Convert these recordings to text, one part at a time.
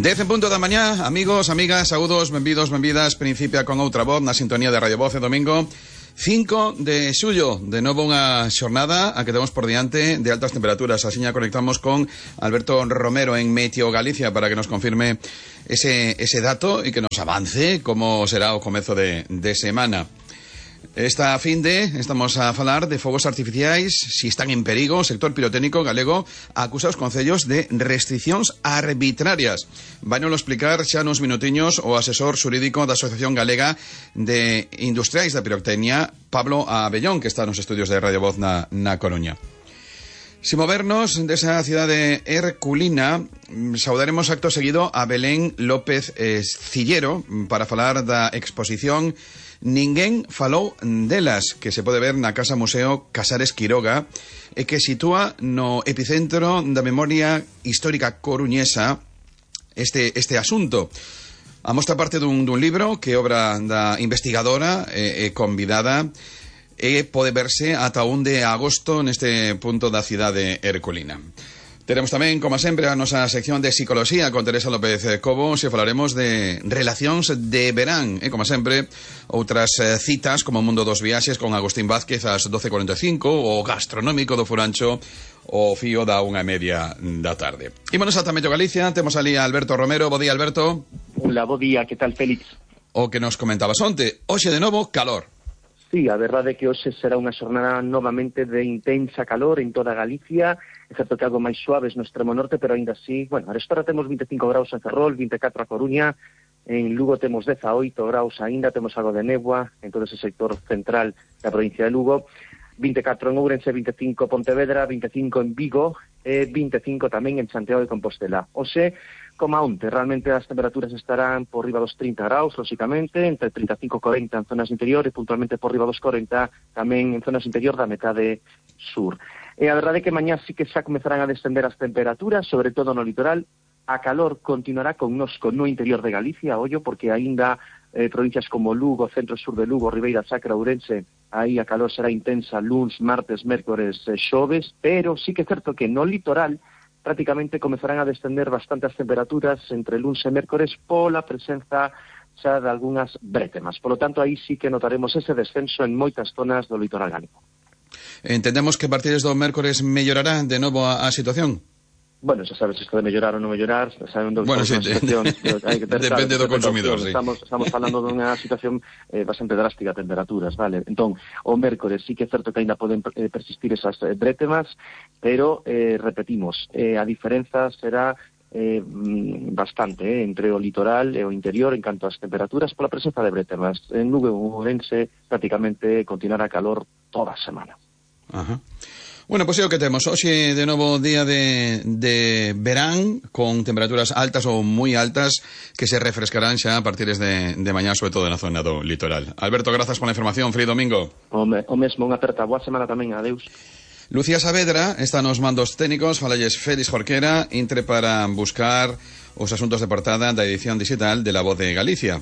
10 en punto da mañá, amigos, amigas, saúdos, benvidos, benvidas. Principia con outra voz na sintonía de Radio Voz de domingo 5 de xullo. De novo unha xornada a que temos por diante de altas temperaturas. Asiña conectamos con Alberto Romero en Meteo Galicia para que nos confirme ese dato e que nos avance como será o comezo de semana. Esta finde estamos a falar de fogos artificiais, si están en perigo. O sector pirotécnico galego acusa os concellos de restriccións arbitrarias. Vainolo explicar xa nos minutiños o asesor xurídico da Asociación Galega de Industriais da Pirotecnia, Pablo Abellón, que está nos estudios de Radio Voz na Coruña. Si movernos desa cidade herculina, saudaremos acto seguido a Belén López Cillero para falar da exposición Ninguén falou delas, que se pode ver na Casa Museo Casares Quiroga e que sitúa no epicentro da memoria histórica coruñesa este asunto. A mostra parte dun libro que obra da investigadora e convidada e pode verse ata 1 de agosto neste punto da cidade herculina. Teremos tamén, como sempre, a nosa sección de psicología con Teresa López Cobo, se falaremos de relacións de verán, e como sempre, outras citas como o Mundo dos Viaxes con Agustín Vázquez ás 12:45, o gastronómico do Furancho, o fío da 1:30 da tarde. Ímonos ata Meteo Galicia, temos ali a Alberto Romero. Bo día, Alberto. Hola, bo día, que tal, Félix? O que nos comentabas onte, hoxe de novo, calor. Sí, a verdade é que hoxe será unha xornada novamente de intensa calor en toda Galicia, excepto que algo máis suaves no extremo norte, pero aínda así, bueno, a esta temos 25 graus en Ferrol, 24 a Coruña, en Lugo temos 18 graus aínda, temos algo de néboa en todo ese sector central da provincia de Lugo, 24 en Ourense, 25 en Pontevedra, 25 en Vigo e 25 tamén en Santiago de Compostela. Hoxe, como onte, realmente as temperaturas estarán por riba dos 30 graus, lóxicamente, entre 35 e 40 en zonas interior e puntualmente por riba dos 40 tamén en zonas interior da metade sur. E a verdade é que mañá sí que xa comezarán a descender as temperaturas, sobre todo no litoral. A calor continuará connosco no interior de Galicia, ollo, porque aínda provincias como Lugo, centro-sur de Lugo, Ribeira Sacra, Ourense, aí a calor será intensa luns, martes, mércores, xoves, pero sí que é certo que no litoral prácticamente comezarán a descender bastante as temperaturas entre luns e mércores pola presenza xa de algunhas brétemas. Por lo tanto, aí sí que notaremos ese descenso en moitas zonas do litoral galego. Entendemos que a partir do mércores mellorará de novo a situación? Bueno, xa sabes isto de mellorar ou non mellorar, sabendo que sí, hai que ter depende do consumidor, sí. Estamos falando dunha situación bastante drástica de temperaturas, vale? Entón, o mércores sí que é certo que ainda poden persistir esas brétemas, pero repetimos, a diferenza será bastante entre o litoral e o interior en canto ás temperaturas pola presenza de brétemas. En Lugo e Ourense prácticamente continuará calor toda a semana. Ajá. Bueno, pois é o que temos. Hoxe, de novo, día de verán, con temperaturas altas ou moi altas, que se refrescarán xa a partir de mañá, sobre todo na zona do litoral. Alberto, grazas pola información. Feliz domingo. O mesmo, unha aperta. Boa semana tamén. Adeus. Lucía Saavedra está nos mandos técnicos. Falalles Félix Jorquera, entre para buscar os asuntos de portada da edición digital de La Voz de Galicia.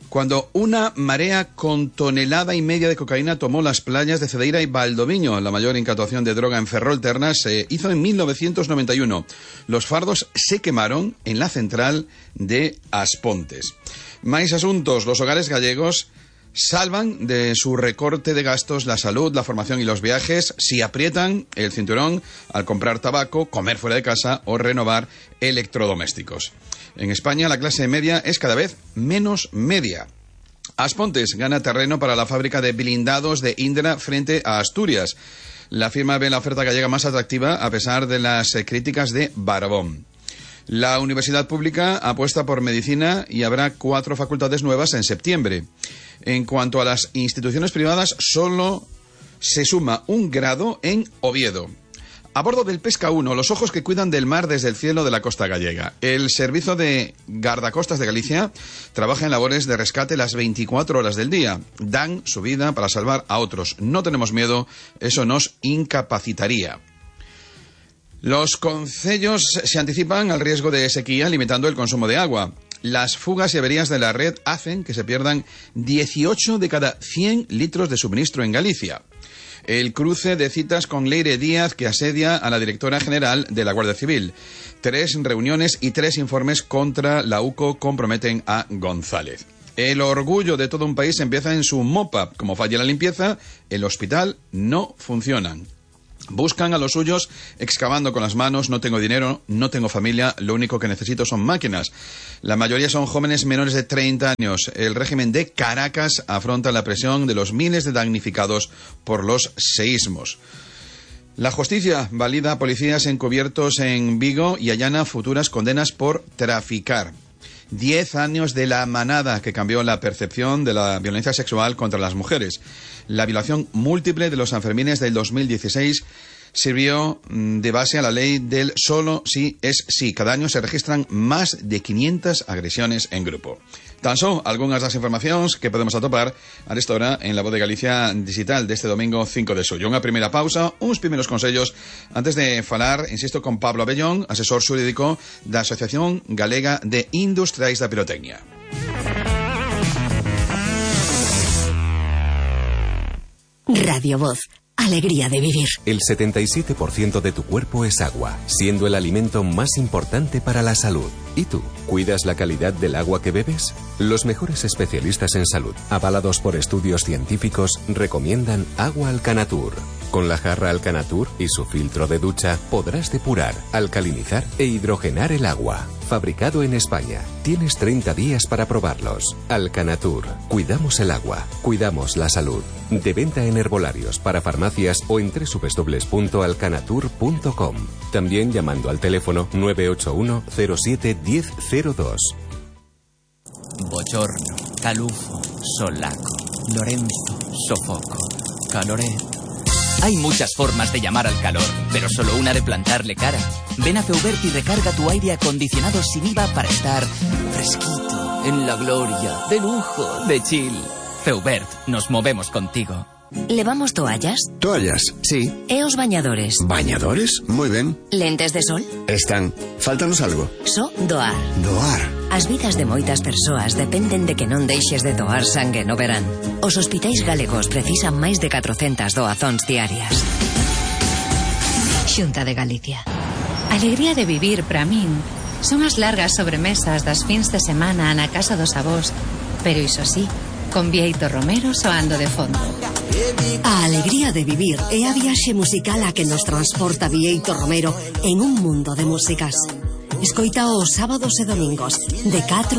Cuando una marea con 1,5 toneladas de cocaína tomó las playas de Cedeira y Valdoviño, la mayor incautación de droga en Ferrolterna se hizo en 1991. Los fardos se quemaron en la central de Aspontes. Máis asuntos. Los hogares gallegos salvan de su recorte de gastos la salud, la formación y los viajes si aprietan el cinturón al comprar tabaco, comer fuera de casa o renovar electrodomésticos. En España la clase media es cada vez menos media. Aspontes gana terreno para la fábrica de blindados de Indra frente a Asturias. La firma ve la oferta gallega más atractiva a pesar de las críticas de Barbón. La universidad pública apuesta por medicina y habrá 4 facultades nuevas en septiembre. En cuanto a las instituciones privadas, solo se suma un grado en Oviedo. A bordo del Pesca 1, los ojos que cuidan del mar desde el cielo de la costa gallega. El Servicio de Guardacostas de Galicia trabaja en labores de rescate las 24 horas del día. Dan su vida para salvar a otros. No tenemos miedo, eso nos incapacitaría. Los concellos se anticipan al riesgo de sequía limitando el consumo de agua. Las fugas y averías de la red hacen que se pierdan 18 de cada 100 litros de suministro en Galicia. El cruce de citas con Leire Díaz, que asedia a la directora general de la Guardia Civil. 3 reuniones y 3 informes contra la UCO comprometen a González. El orgullo de todo un país empieza en su mopa. Como falla la limpieza, el hospital no funciona. Buscan a los suyos excavando con las manos. No tengo dinero, no tengo familia, lo único que necesito son máquinas. La mayoría son jóvenes menores de 30 años. El régimen de Caracas afronta la presión de los miles de damnificados por los seísmos. La justicia valida a policías encubiertos en Vigo y allana futuras condenas por traficar. 10 años de la manada, que cambió la percepción de la violencia sexual contra las mujeres. La violación múltiple de los Sanfermines del 2016 sirvió de base a la ley del solo sí es sí. Cada año se registran más de 500 agresiones en grupo. Tan só algunhas das informacións que podemos atopar a esta hora en la Voz de Galicia digital deste domingo 5 de xullo. Unha primeira pausa, uns primeiros consellos antes de falar, insisto, con Pablo Abellón, asesor xurídico da Asociación Galega de Industriais da Pirotecnia. Radio Voz. Alegría de vivir. El 77% de tu cuerpo es agua, siendo el alimento más importante para la salud. ¿Y tú? ¿Cuidas la calidad del agua que bebes? Los mejores especialistas en salud, avalados por estudios científicos, recomiendan agua Alcanatur. Con la jarra Alcanatur y su filtro de ducha podrás depurar, alcalinizar e hidrogenar el agua. Fabricado en España. Tienes 30 días para probarlos. Alcanatur. Cuidamos el agua. Cuidamos la salud. De venta en herbolarios, para farmacias o en www.alcanatur.com. También llamando al teléfono 981 07 1002. Bochorno, calufo, solaco, Lorenzo, sofoco, caloret. Hay muchas formas de llamar al calor, pero solo una de plantarle cara. Ven a Feubert y recarga tu aire acondicionado sin IVA para estar fresquito, en la gloria, de lujo, de chill. Feubert, nos movemos contigo. ¿Levamos toallas? Toallas, sí. E os bañadores? ¿Bañadores? Muy ben. Lentes de sol? Están. Fáltanos algo. Só doar. Doar. As vidas de moitas persoas dependen de que non deixes de doar sangue no verán. Os hospitais galegos precisan máis de 400 doazóns diarias. Xunta de Galicia. Alegría de vivir, para min, son as largas sobremesas das fins de semana na casa dos avós, pero iso sí, con Bieito Romero soando de fondo. A alegría de vivir é a viaxe musical a que nos transporta Bieito Romero en un mundo de músicas. Escoita os sábados e domingos, de 4